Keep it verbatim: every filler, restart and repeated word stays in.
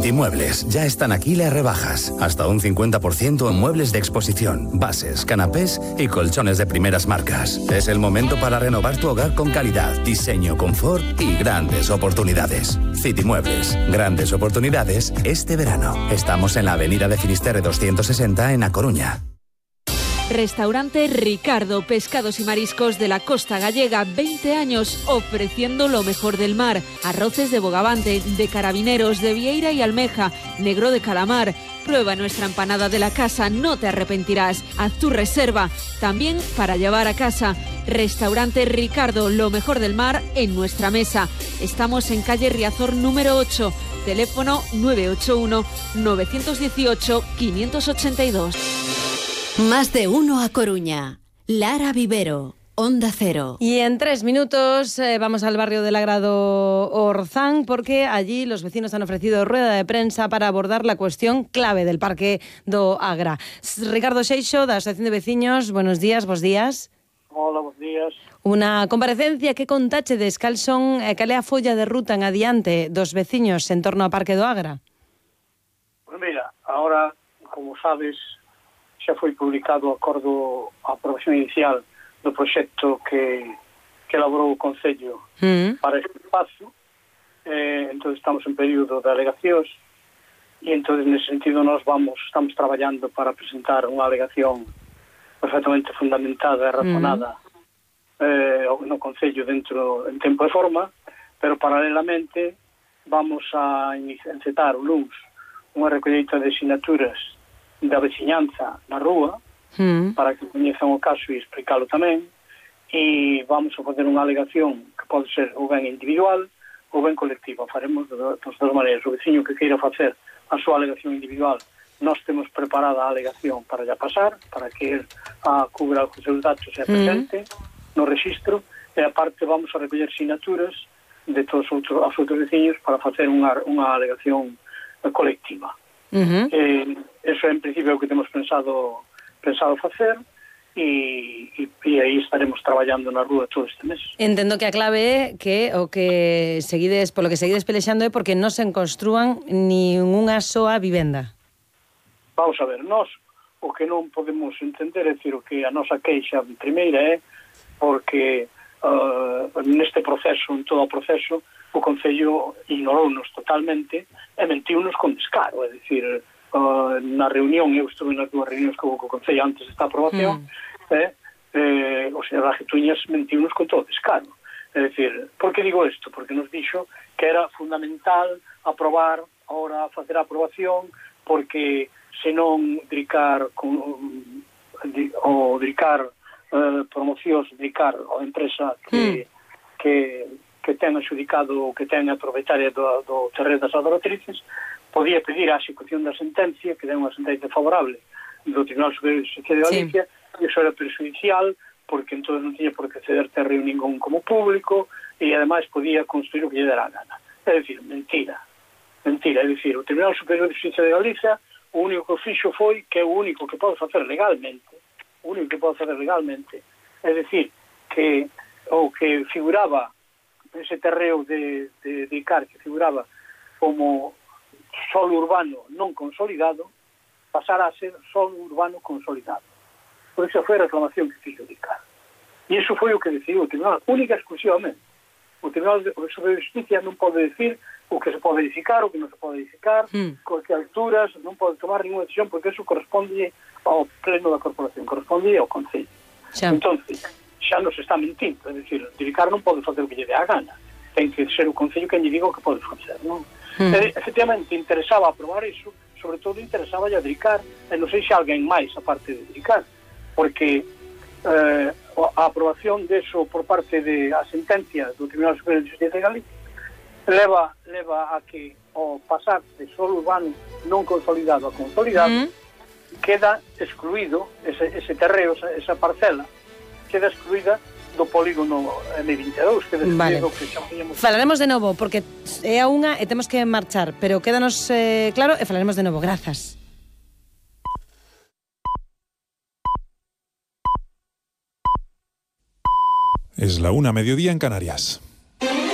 Citimuebles, ya están aquí las rebajas. Hasta un cincuenta por ciento en muebles de exposición, bases, canapés y colchones de primeras marcas. Es el momento para renovar tu hogar con calidad, diseño, confort y grandes oportunidades. Citimuebles, grandes oportunidades este verano. Estamos en la avenida de Finisterre doscientos sesenta en A Coruña. Restaurante Ricardo, pescados y mariscos de la costa gallega, veinte años ofreciendo lo mejor del mar. Arroces de bogavante, de carabineros, de vieira y almeja, negro de calamar. Prueba nuestra empanada de la casa, no te arrepentirás. Haz tu reserva, también para llevar a casa. Restaurante Ricardo, lo mejor del mar en nuestra mesa. Estamos en calle Riazor número ocho, teléfono nueve ocho uno, nueve uno ocho, cinco ocho dos. Más de uno a Coruña. Lara Vivero, Onda Cero. Y en tres minutos eh, vamos al barrio del Agrado Orzán, porque allí los vecinos han ofrecido rueda de prensa para abordar la cuestión clave del Parque do Agra. Ricardo Seixo, da Asociación de Veciños, buenos días, bos días. Hola, bos días. Unha comparecencia que contáchedes cal son e cal é a folla de ruta en adiante dos veciños en torno ao Parque do Agra. Pues mira, ahora, como sabes, xa foi publicado o acordo, a aprobación inicial do proxecto que, que elaborou o Concello mm. para este espazo. Eh, entón estamos en período de alegacións e entón nese sentido nós vamos, estamos traballando para presentar unha alegación perfectamente fundamentada e razonada mm. eh, no Concello dentro en tempo e forma, pero paralelamente vamos a encetar o luns unha recolleita de sinaturas da veciñanza na rúa mm. para que coñezan o caso e explicarlo tamén, e vamos a fazer unha alegación que pode ser ou ben individual ou ben colectiva. Faremos de das duas maneiras. O veciño que queira facer a súa alegación individual, nós temos preparada a alegación para ya pasar, para que el a cubra os seus datos e presente mm. no registro, e aparte vamos a recoller sinaturas de todos os outros, os outros veciños para facer unha, unha alegación colectiva. Uh-huh. Eh, eso en principio é o que temos pensado pensado facer e, e, e aí estaremos traballando na rúa todo este mes. Entendo que a clave é que o que seguides, polo que seguides pelexando é porque non se construan ni unha soa vivenda. Vamos a ver, nós o que non podemos entender é dicir, o que a nosa queixa primeira é porque uh, neste proceso, en todo o proceso, o Concello ignorounos totalmente e mentiu-nos con descaro, é dicir, uh, na reunión, eu estuve nas dúas reunións co, co Concello antes desta aprobación, mm. eh, eh, o señor Rajetuñas mentiu-nos con todo descaro. É dicir, por que digo isto? Porque nos dixo que era fundamental aprobar, ahora facer a aprobación, porque senón dricar con, o dricar uh, promocións, dricar a empresa que, mm. que que ten adxudicado ou que ten a propietaria do, do terreno das adoratrices, podía pedir a execución da sentencia, que den unha sentencia favorable do Tribunal Superior de Justicia de Galicia, sí. E iso era perjudicial, porque entón non tiña por que ceder terreno ningún como público, e ademais podía construir o que lle dera a gana. É dicir, mentira. Mentira, é dicir, o Tribunal Superior de Justicia de Galicia, o único que fixo foi que é o único que pode facer legalmente, o único que pode facer legalmente, é dicir, que o que figuraba ese terreo de, de, de Icar que figuraba como solo urbano non consolidado pasara a ser solo urbano consolidado. Por esa foi a reclamación que fixo de Icar. E iso foi o que decidiu o Tribunal, única exclusivamente. O Tribunal de Justicia non pode decir o que se pode edificar, o que non se pode edificar, mm. con que alturas, non pode tomar ninguna decisión, porque eso corresponde ao pleno da corporación, corresponde ao Concello. Sí. Entón, xa nos está mentindo, é dicir, Icar non pode facer o que lle dé a gana, ten que ser o Concello que lle diga o que pode facer, non? Mm. E, efectivamente, interesaba aprobar iso, sobre todo interesaba a Icar, e non sei se alguén máis aparte de Icar, porque eh, a aprobación deso por parte de a sentencia do Tribunal Superior de Justicia de Galicia leva, leva a que o pasar de solo urbano non consolidado a consolidado mm. queda excluído ese, ese terreo, esa, esa parcela queda excluída do polígono eme vinte e dous, queda excluído vale. Que xa podíamos... Falaremos de novo, porque é a unha e temos que marchar, pero quédanos eh, claro e falaremos de novo. Grazas. Es la una mediodía en Canarias.